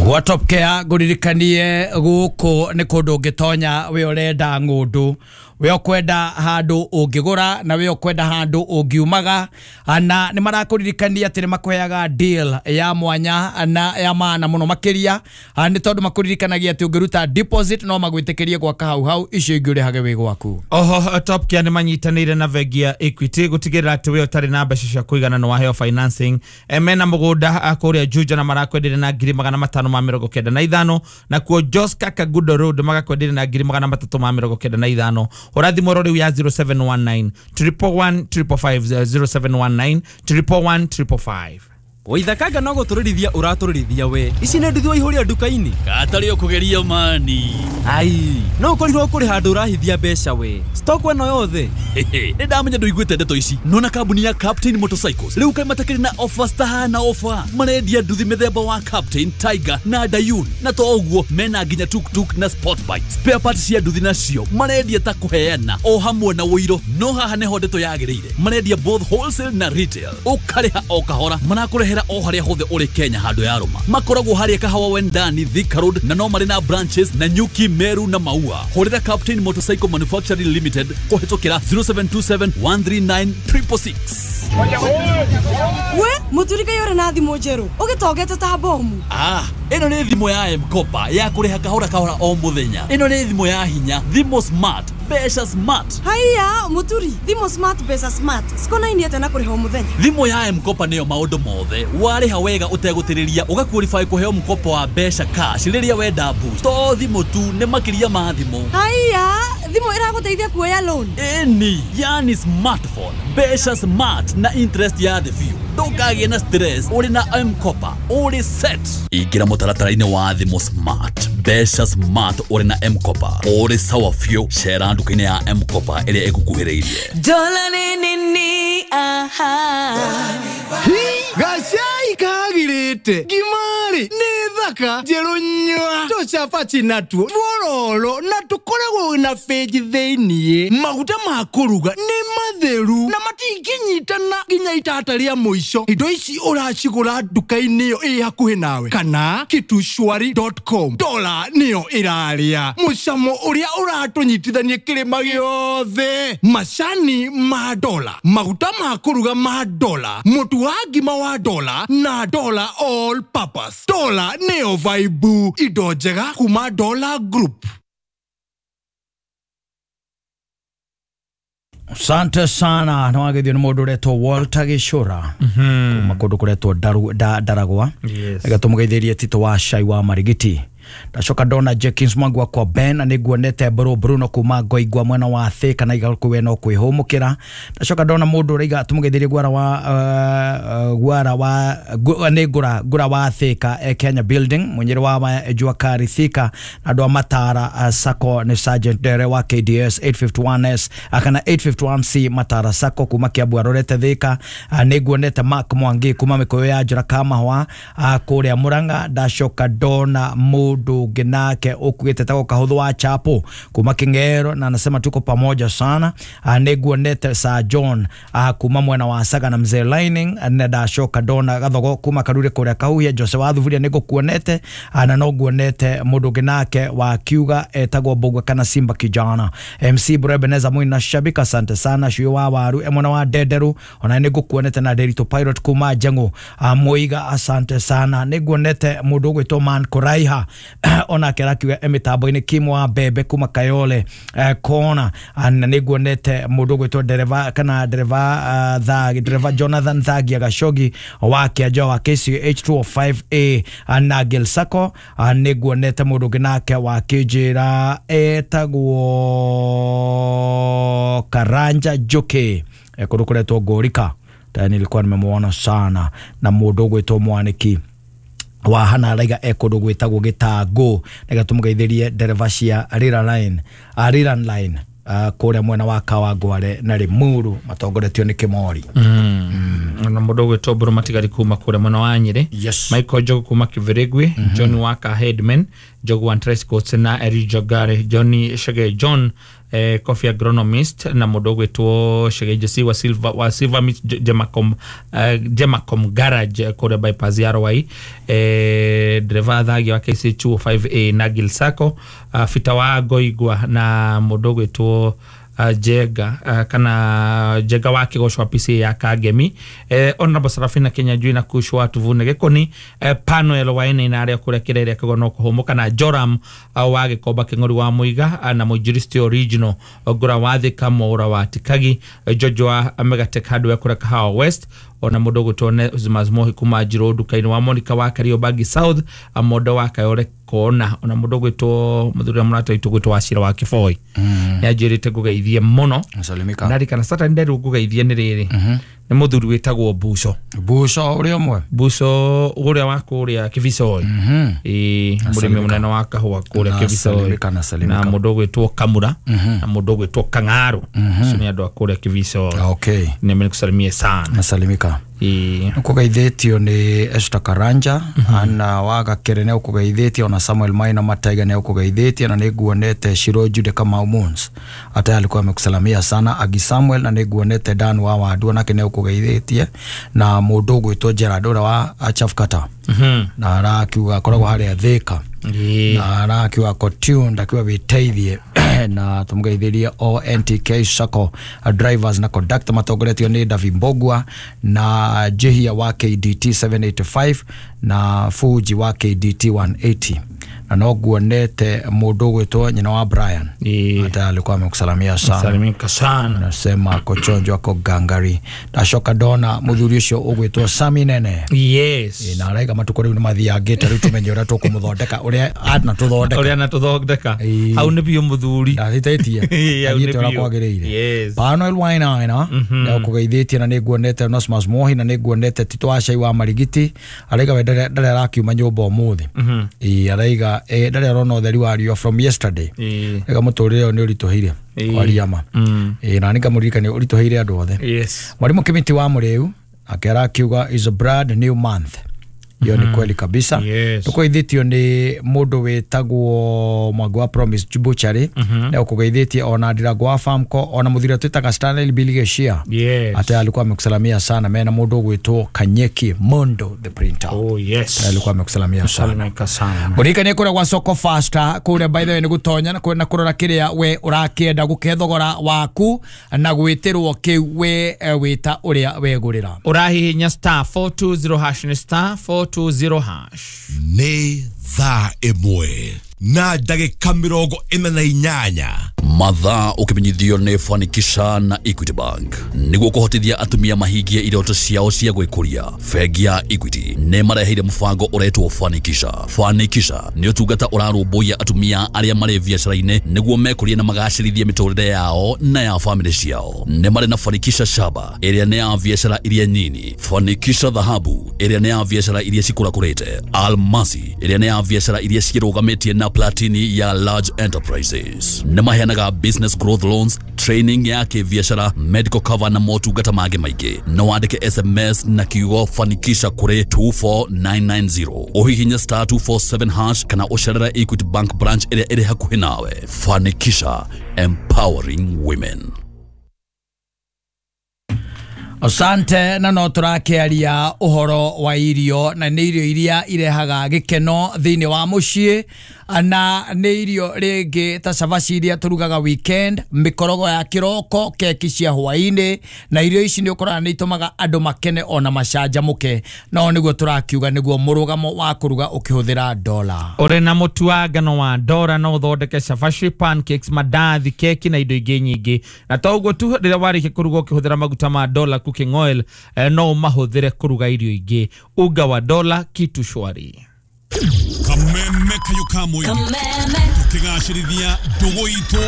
Gwa Top Care ngũririkanie gũkũ nĩ kũndũ ũngĩtonya we ũrenda ng'ũndũ, we ũkwenda handũ ũngĩgũra na we ũkwenda handũ ũngiumaga, na nĩ marakũririkania atĩ nĩ makũheaga deal ya mwanya na ya maana mũno makĩria, nĩ tondũ makũririkanagia atĩ ũngĩruta deposit no magwĩtĩkĩrie gwaka hau hau, icio ingĩ ũrĩhage wĩ gwaku. Oho Top Care nĩ manyitanĩire na bengi ya Equity gũtigĩrĩra atĩ we ũtarĩ na mbeca cia kũigana nĩ waheo financing. Mena mũgũnda kũrĩa Juja na marakwenderia na 595,000, na kuo Joska Kagudo Road magakwenderia na 395,000. Hũra thimũ oro rĩu ya 0719 111 555, 0719 111 555. Waithakanga no gũtũrĩrithia ũratũrĩrithia we. Ici nĩ nduthi waihũria nduka-inĩ. Katarĩ ũkũgeria mani. Ai, no ũkorirwo kũrĩ handũ ũrahithia mbeca we. Stock ĩno yothe. Nĩ ndamenya ndũiguĩte ndeto ici. Nona kambuni ya Captain Motorcycles rĩu kaĩ matakĩrĩ na offers tahana offer. Marendia nduthi mĩthemba wa Captain, Tiger na Dayun. Na to ũguo mena nginya tuk-tuk na sport bike. Spare parts cia nduthi nacio marendia ta kũheana o hamwe na ũiro. No haha nĩho ndeto yagĩrĩire. Marendia both wholesale na retail. Ũkarĩha o kahora. Marakũrehera o harĩa hothe ũrĩ Kenya handũ ya rũma. Makoragwo harĩa Kahawa Wendani, Thika Road, na no marĩ na branches na Nyuki, Meru na Maua. Hũrĩra Captain Motorcycle Manufacturing Limited kũhĩtũkĩra 0727 139 666. We mũturika yore na thimũ njerũ ũgĩtongete ta bomu. Ĩno nĩ thimũ ya M-Kopa ya kũrĩha kahora kahora o mũthenya. Ĩno nĩ thimũ ya hinya, thimũ smart, mbeca smart. Haiya mũturi, thimũ smart mbeca smart cikonainie atĩa na kũrĩha o mũthenya? Thimũ ya M-Kopa nĩyo maũndũ mothe. Warĩha wega ũtegũtĩrĩria ũgaqualify kũheo mkopo wa mbeca cash rĩrĩa wenda boost. To thimũ tu, nĩ makĩria ma thimũ. Haiya, thimũ ĩragũteithia kuoya loan. Ĩni, yani smartphone, mbeca smart na interest ya thĩ biũ. Ndũkagĩe na stress ũrĩ na M-Kopa, ũrĩ set. Ingĩra mũtaratara-inĩ wa thimũ smart, mbeca smart ũrĩ na M-Kopa, ũrĩ sawa biũ. Cera nduka-inĩ ya M-Kopa ĩrĩa ĩgũkuhĩrĩirie. Dola ni nini, aha. Gacai kagirĩte ngimari nĩ thaka njerũ nyua tũcabaci natuo twororo na tũkoragwo na benji thĩiniĩ. Maguta ma kũruga nĩ matheru na matingĩnyitana nginya itata rĩa mũico. Indo ici ũracigũra nduka-inĩ ĩyo ĩ hakuhĩ nawe kana kitushwari.com. Dola nĩyo ĩrarĩa mũcamo ũrĩa ũratũnyitithania kĩrĩma gĩothe. Macani ma dola, maguta ma kũruga ma dola, mũtu wa ngima wa dola na dola all purpose. Dola nĩyo vibe, indo njega kuma Dola Group. Asante sana. No agithio nĩ mũndũ ũretwo Walter Gĩcũra kuma kũndũ kũretwo Ndaragwa. Gatũmũgeithĩrie Tito wa Cai wa Marigiti. Ndacoka ndona Jenkins Mwangu wakwa Ben na nĩnguonete Bruno kuma Ngoingwa mwena wa Thika na igakuwe no kwĩhũmũkĩra. Ndacoka ndona mũndũ ũraiga tũmũgeithĩrie Gwara wa Gwara wa nĩ ngũra wa Thika, Kenya Building mũnyĩrĩ wa Jua Kari Thika, na andũ a Matara Sacco nĩ Sergeant Dere wa KDS 851S kana 851C Matara Sacco kuma Kiambu arorete Thika. Nĩnguonete Mark Mwangi kuma Mĩkũyũ ya Njora Kamahwa kũrĩa Murang'a. Ndacoka ndona mũndũ nake ukugete tako kahuthu wa Chapo kuma Kingero na anasema tuko pamoja sana. Nĩnguonete Sir John kuma mwena wa Saga na Mzee Lining, na ndacoka ndona Gathogo kuma Karure kũrĩa Kahuhia. Jose wa Thuburia nĩngũkuonete, na no nguonete mũndũ ũngĩ nake wa kiuga etagwo Mbũgua kana Simba Kijana. MC Brebeneza Mwina Shabika, asante sana. Shuyo wa Waru mwena wa Ndenderu ona nĩngũkuonete, na Derito Pilot kuma Njengu Muiga, asante sana. Nĩnguonete mũndũ ũgwĩtwo Man Kuraiha ona kera kiuga emitambo-inĩ Kim wa Bebe kuma Kayole kona, na nĩnguonete mũndũ ũgwĩtwo dereva kana dereva Thagi, dereva Jonathan Thagia Gashogi wa Kĩanjo wa KCH 205A na Gil Sacco. Nĩnguonete mũndũ ũngĩ nake wa kĩnjĩra etagwo Karanja Njuki kũndũ kũretwo Ngũrika, nilikuwa nimemuona sana, na mũndũ ũgwĩtwo Mwaniki wa hana raiga ekundu gwitagwo Gitangu, nĩgetha tũmũgeithĩrie ndereba cia Riran Line kũrĩa mwena wa Kawangware na Limuru matongoretio nĩ Kĩmori. Na mũndũ ũgwĩtwo Mbũrũ Matigari kuma kũrĩa mwena wa Nyĩrĩ, Michael Njogu kuma Kĩbĩrĩgwi, John Waka Headman, Njogu wa Coats na Eri Jogare, Johnny Shege John Coffee agronomist na mũndũ ũgwĩtwo Shege wa Silver Meat Gemacom, Gemacom Garage, kũrĩa bypass ya Rwai, dereva thagia wa KC 205A na Gil Sacco, Fita wa Ngoigwa na mũndũ ũgwĩtwo Jenga, kana Jenga wa Kĩgoco wa PCA ya Kangemi, Honorable Sarafina Kenya Njui na Kushwa Tuvune Gĩkoni, Panuel wa Ene na arĩa kũrĩa kĩrere kĩgo no kũhũmũka, na Joram wa Gĩkomba Kĩng'ori wa Mũiga, na Mũinjilisti Original Ngũra wa Thika Mwaũra wa Tikagi, George wa Megatech Hardware kũrĩa Kahawa West, ona mũndũ ũgwĩtwo Onesmus Mohi kuma Njirũ nduka-inĩ wa Monica wa Kariobangi South, Mondo wa Kayore Kona, ona mũndũ ũgwĩtwo mũthuri wa mũrata witũ ũgwĩtwo Wachira wa Kĩboi nĩ anjĩrĩte ngũgeithie mũno. Salimika. Ndarikana Saturday nderirwo ngũgeithie nĩ rĩrĩ, nĩ mũthuri wĩtagwo Buco. Buco ũrĩa ũmwe. Buco ũrĩa wa kũrĩa Kĩbicoi, ĩĩ, mũrĩmi mũnene wa kahũa kũrĩa Na Kĩbicoi, salimika, na salimika. na mũndũ ũgwĩtwo Kamura na mũndũ ũgwĩtwo Kang'aru, acio nĩ andũ a kũrĩa Kĩbicoi. Okay. Nĩmekusalimie sana. Nasalimika. Ĩĩ. Nĩkũgeithĩtio nĩ Esther Karanja, ana wa Gakere nĩ ũkũgeithĩtie, ona Samuel Maina Mataiga nĩ ũkũgeithĩtie, na nĩ nguonete Shiro Jude Kamau Mons ata alikuwa amekusalamia sana, Agi Samuel, na nĩ nguonete Dan wa Wandu nake nĩ ũkũgeithĩtie, na mũndũ ũgwĩtwo Gerard ũrĩa wa Chafkata, na arakiuga akoragwo harĩa Thika, na arakiuga ako tuned akiuga wĩteithie, na tũmũgeithĩrie o NTK Sacco drivers na conductor matongoretio nĩ David Mbogwa na Jehia wa KDT 785 na Fuji wa KDT 180, na no nguonete mũndũ ũgwĩtwo nyina wa Brian hata alikuwa amekusalamia sana. Salimika sana. Nasema kochonjo ako gangari. Ndacoka ndona mũthuri ũcio ũgwĩtwo Sami Nene. Yes. Na araiga matukũ rĩu nĩ mathiangĩte, rĩu tũmenye ũrĩa tũkũmũthondeka, ũrĩa anatũthondeka. Ũrĩa anatũthondeka. Hau nĩ biũ mũthuri. Ndathitĩtie. Ĩĩ, hau nĩ Athiĩte ũrĩa biũ. kwagĩrĩire. Yes. Panuel Wainaina nĩ ũkũgeithĩtie, na nĩ nguonete Onesmus Mohi, na nĩ nguonete Tito wa Cai wa Marigiti, araiga we ndarĩ arakiuma nyũmba ũmũthĩ. Ĩĩ, araiga ndarĩ arona ũtheri wa riũa from yesterday. Araiga mũtũrĩre ũyũ nĩ ũritũhĩire kwaria ma. Ĩĩ, na nĩngamũririkania ũritũhĩire andũ othe. Yes. Mwalimu Kimiti wa Mũrĩu ake arakiuga is a brand new month. Hiyo ni kweli kabisa. Yes. Tũkũgeithĩtio nĩ mũndũ wĩtagwo Mwangi wa Promise Butchery, nĩ ũkũgeithĩtie, ona Ndirango wa Farmco, ona mũthuri ũrĩa twĩtaga Stanley Biligeshia. Yes. Ate alikuwa amekusalamia sana mena mũndũ ũgwĩtwo Kanyeki Mondo the printer. Oh yes. Alikuwa amekusalamia sana. Salimika sana. Mũririkanie kũrĩa gwa Soko Faster kũrĩa by the way nĩ gũtonya na na kũrora kĩrĩa we ũrakĩenda gũkĩhe thogora waku na gwĩtĩrwo kĩu we wĩta ũrĩa wegũrĩra. Ũrahihinya star 420 hash, nĩ star 420 hash. Nĩ thaa 1 na ndagĩka 48. Mathaa ũkĩmenyithio nĩ Fanikisha na Equity Bank nĩguo kũhotithia atumia mahingie iroto ciao cia gwĩkũria. Bengi ya Equity nĩ mareheire mũbango ũretwo Fanikisha. Fanikisha nĩ ũtungata ũrarũmbũiya atumia arĩa marĩ biacara-inĩ nĩguo mekũrie na magacĩrithie mĩtũrĩre yao na ya famĩlĩ ciao. Nĩ marĩ na Fanikisha Shaba ĩrĩa nĩ ya biacara iria nyini, Fanikisha Dhahabu ĩrĩa nĩ ya biacara iria cikũrakũrĩte, Almasi ĩrĩa nĩ ya biacara iria ciĩrũgamĩtie na Platini ya large enterprises. Nĩ maheanaga business growth loans, training ya kĩbiacara, medical cover na motungata mangĩ maingĩ. No wandĩke SMS na kiugo Fanikisha kũrĩ 24990, ũhihinye star 247 hash kana ũcerere Equity Bank branch ĩrĩa ĩrĩ hakuhĩ nawe. Fanikisha, empowering women. Asante. Na no tũrakĩaria ũhoro wa irio, na nĩ irio iria irehaga gĩkeno thĩinĩ wa mũciĩ, na nĩ irio rĩngĩ ta cabaci iria tũrugaga weekend, mĩkorogo ya kĩroko, keki cia hwaĩ-inĩ, na irio ici nĩ ũkoraga nĩ itũmaga andũ makene ona macanjamũke. No nĩguo tũrakiuga nĩguo mũrũgamo wa kũruga ũkĩhũthĩra dola. Ũrĩ na mũtu wa ngano wa Dora no ũthondeke cabaci, pancakes, mandathi, keki na indo ingĩ nyingĩ. Na to ũguo tu, rĩrĩa warĩkia kũruga ũkĩhũthĩra maguta ma Dola cooking oil, no ũmahũthĩre kũruga irio ingĩ. Unga wa Dola, kitu shwari. Kameme kayo ka mũingĩ tũkĩgacĩrithia ndũgũ itũ.